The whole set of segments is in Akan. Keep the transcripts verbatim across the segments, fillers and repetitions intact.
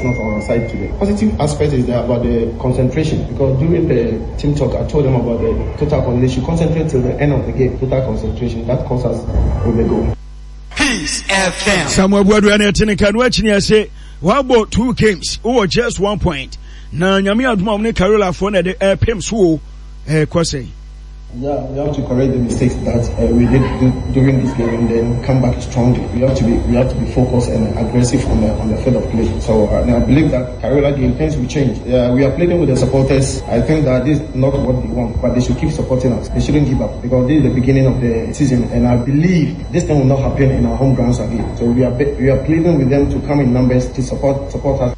not on our side today. Positive aspect is there about the concentration, because during the team talk, I told them about the total concentration. They should concentrate till the end of the game. Total concentration. That cost us with the goal. Peace F M. Samuel Boadu ɛna ɛte ne ka no akyi ne ɛse wabɔ two games, wowɔ just one point, na Nyame adom a wɔn ne Karolafoɔ na ɛde ɛpem so o ɛkɔ sɛn. Yeah, we have to correct the mistakes that uh, we did do during this game and then come back strongly. We have to be we have to be focused and aggressive on the on the field of play. So uh, and I believe that Karela game, things will change. Yeah, we are pleading with the supporters. I think that this is not what they want, but they should keep supporting us. They shouldn't give up because this is the beginning of the season, and I believe this thing will not happen in our home grounds again. So we are we are pleading with them to come in numbers to support support us.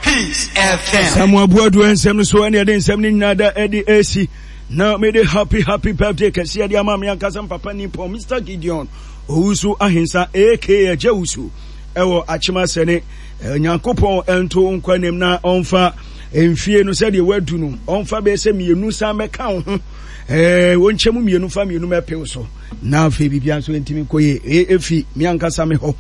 Peace F M. Samuel Boadu nsɛm no so ɛne ɛde nsɛm no nyinaa da ɛde esi na mede happy happy birthday kɛseɛ de ama me ankasa papa nimpɔn, Mister Gideon Owusu Ahensa aka Agya Wusu ɛwɔ Akyema ne Nyankopɔn ɛnto nkwa nim na ɔmfa mfie no sɛdeɛ wadu no, ɔmfa bɛyɛ sɛ mmienu san bɛka wo ho, ɛɛ wɔnkyɛ mu mmienu fa mmienu mɛpew so, na afei biribia nso ntumi nkɔ yie. Ɛfi me ankasa me hɔ,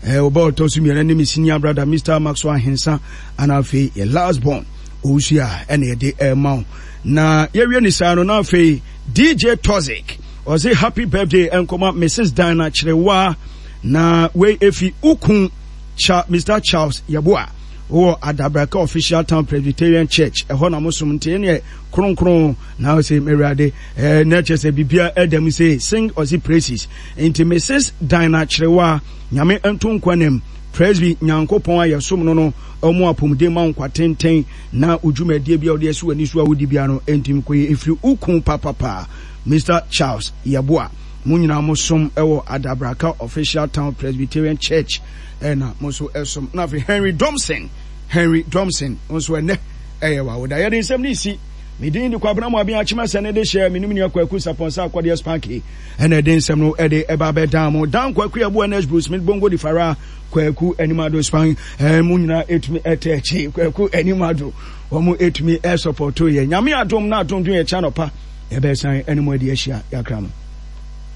ɛɛ ɔba ɔtɔ so mmienu ne me senior brother, Mister Maxwell Ahensa, ana afei yɛ last born Owusu a ɛna yɛde ɛma wo. Na yɛwie ne saa no, na afei D J Toxic ɔse happy birthday ɛnkɔma Missus Diana Kyerɛwa, na wei efi ukun Cha, Mister Charles Yeboa wɔ Adabraka Official Town Presbyterian Church, ɛhɔ na mosom, nti ɛneɛ kronkron na ɔsɛ mawurade ɛɛ na kyerɛ sɛ biribia ɛda mu sɛ sing ɔse praises. Nti Missus Diana Kyerɛwa, Nyame nto nkwa nam Presby Nyankopɔn a yɛsom no no ɔmo apɔmuden ma nkwa tenten na odwumadie bi a ɔde asi w'ani so a wodi bia no ɛntimi kɔyɛ. Ɛfiri ukun papapa Mister Charles Yeboa, mo nyinaa mo som ɛwɔ Adabraka Official Town Presbyterian Church, ɛna mo nso ɛsom. Na afei Henry Domson, Henry Domson nso ɛnɛ ɛyɛ wawoda. Yɛde nsɛm ne si medin de Kwabena mu aben akyema sɛ ne de hyɛ menom nua Kwaku Sapɔnsa Akɔdeɛ Spanky, ɛna ɛde nsɛm no ɛde ɛba bɛdan mo dan Kwaku Yɛbo Ns Bruce Smith Bongo de Fara Kwaku Animado Span ɛɛ mu nyinaa ɛtumi ɛtɛ akyi Kwaku Animado, wɔn ɛtumi ɛsɔpɔto yɛ. Nyame adom na adom dun yɛ kyɛ anɔpa yɛbɛsan ɛne mu adi ahyia yɛakra mo.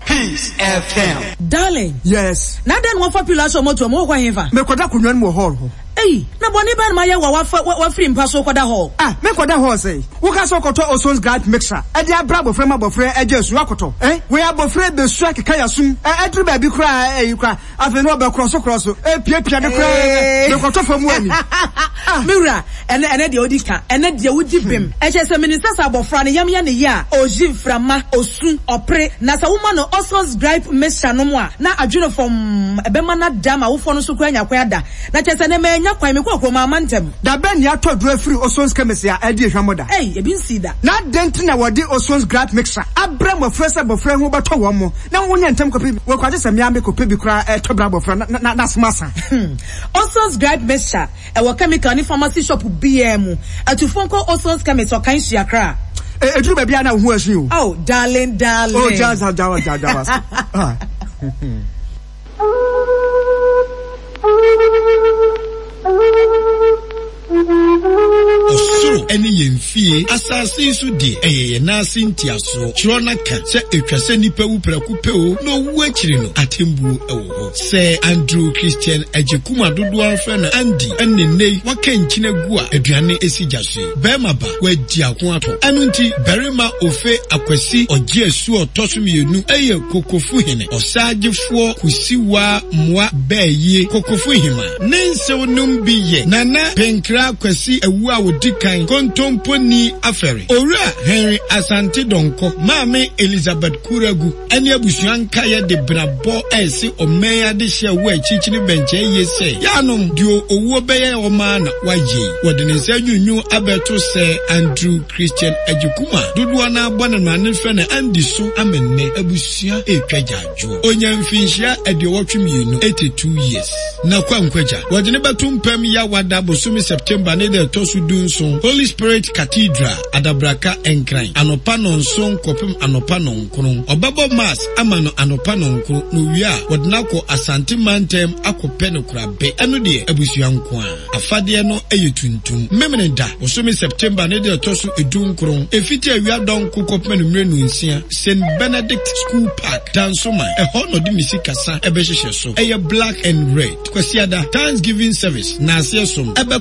Peace F M. Darling. Yes. Na dɛn na wɔfa pillow ahyɛ ɔmɔto mu, wokɔ hefa? Mekɔda akonnwa no mu wɔ hall hɔ. Ei, na bɔne bɛn na mayɛ wɔ wafa wafiri mpa so kɔda hɔ? Ah, mekɔda hall sɛ woka sɛ wokɔtɔ Ozon's Gripe Mixture ɛde abra abɔfra ma abɔfra agye asu akɔtɔ eh? Wei abɔfra bɛsu akeka yɛsom, ɛduru baabi koraa ɛyi koraa, afei na ɔbɛkorɔ so korɔ so ɛpiapia de koraa mekɔtɔ fam ani. Me wura, ɛnɛ ɛnɛ deɛ wodi ka, ɛnɛ deɛ wodi bem. Ɛkyɛ sɛ menim sɛ sɛ abɔfra no yam yɛ ne yɛ a, ɔyi mframa, osu, ɔpere, na sɛ woma no Ozon's Gripe Mixture nom a, na adwene fam ɛbɛma no ada ma awofoɔ no nso koraa anya kwan ada. Na kyɛ sɛ nɛ manya kwan mekɔ kurom ama ntɛm. Da bɛn ne atɔ duro afiri Ozon's Chemist a ɛde ehwamɔ da? Ei, ebi nsii da. Na adɛn nti na wɔde Ozon's Gripe Mixture abrɛ mmɔfra sɛ mmɔfra ho bɛtɔ wɔn mo na wonyɛ ntɛm kɔpɛ bi? Wɔkɔagye sɛ mmea mekɔpɛ bi koraa ɛtɔ brɛ abɔfra na na n'asom asa. Ozon's Gripe Mixture ɛwɔ chemical ne pharmacy shop biara mu. Atufoɔ nkɔ Ozon's Chemist ɔkan suakra. Ɛduru baabi a na wo ho ahyi o. Oh darling, darling. Oh, jaza jawa jawa. Ah. Ɔsoro ne yɛn fie, asase yi so deɛ ɛyɛ yɛn nan ase ntiasoɔ. Twerɛ no ka sɛ ɛtwa sɛ nnipa wu prɛko pɛ o, na ɔwu akyiri no atembuo wɔ hɔ. Sɛ Andrew Christian Agyekuma, dodoɔ ara frɛ no Andy, ɛne nnɛ yi waka nkyina gu a aduane si gya so yi, bɛrima ba wagyi ako atɔ. Ɛno nti barima Ofe Akwasi ɔgye asu ɔtɔ so mmienu ɛyɛ Kokofu hene ɔsaagyefoɔ Kusiwa Mmoa Bɛɛyie Kokofu hema. Ne nsew nom bi yɛ Nana Penkra Kwasi Awu a ɔdi kan, Kontomponi Afɛre, Owura Henry Asante Dɔnkɔ, Maame Elizabeth Kuragu ɛne abusua nkaeɛ de benabɔ ɛɛse ɔman adehyɛ wɔ akyirikyiri bɛnkyɛn yie sɛ yɛanom deɛ owuo bɛyɛ ɔmaa na wayɛ yi. Wɔde ne nsa nwunwu abɛto sɛ Andrew Christian Agyekuma, dodoɔ no abɔ ne mane frɛ no Andy so ama nnɛ abusua ɛretwa gyaadwoɔ. Onya mfinhyia aduɔwɔtwe mmienu, eighty-two years. Na kwankwagya wɔde ne bɛto mpam Yawada bosome September ne deɛ ɛtɔ so du nson, Holy Spirit Cathedral, Adabraka, Nkran, anɔpa nɔnson kɔpem anɔpa nɔnkron. Ɔbɛbɔ mass ama no anɔpa nɔnkron na owie a wɔde no akɔ Asante mantam akɔpɛ no korabe. Ɛno deɛ abusua nko a afadeɛ no yɛ tuntum. Memene da bosome September ne deɛ ɛtɔ so edu nkron, efiti awia dɔnko kɔpem anumere nonsia, Saint Benedict School Park, Dansoman, ɛhɔ na ɔde ne sikasa ɛbɛhyehyɛ so. Ɛyɛ black and red. Kwasiada thanksgiving service na aseɛ som ɛbɛkɔ.